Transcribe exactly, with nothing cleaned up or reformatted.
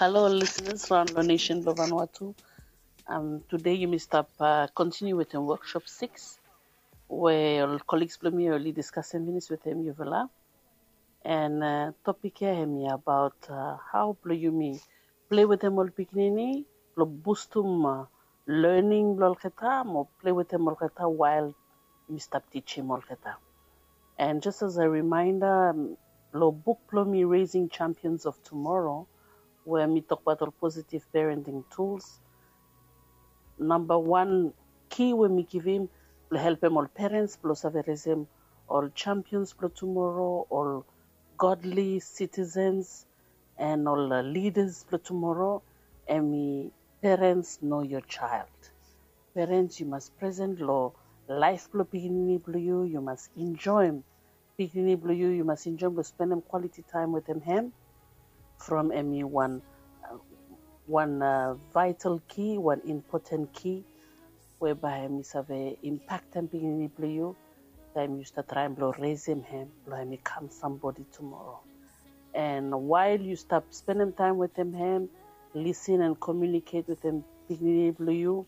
Halo ol lisenas raon long nesen blong Vanuatu. Um, tude yumi stap uh, kontiniu wetem workshop six we ol colleagues blong mi oli diskasim finis wetem yufala. And uh, topik ya hemi abaot uh, hao blong yumi plei wetem ol pikinini blong bustum uh, learning blong olgeta mo plei wetem olgeta while yumi stap tijim olgeta. And just as a reminder, um, lo buk blong mi Raising Champions of Tomorrow, we mi tokbaot ol positive parenting tools, namba wan ki we mi givim blong helpem ol parents blong save resem ol champions blong tomorrow, ol godly citizens, and ol uh, leaders blong tomorrow, hemi parents know your child. Parents, yu mas present lo life blong pikinini blong yu. Yu mas enjoyim pikinini blong yu. Yu mas enjoyim blong spendem quality time wetem hem. From hemi wan uh, wan uh, vital key, wan important key we bae hemi save impaktem pikinini blong yu taem yu stap traem blong resem hem blong hemi kam somebody tomorrow. And while yu stap spendem taem wetem hem, listen and communicate wetem pikinini blong yu,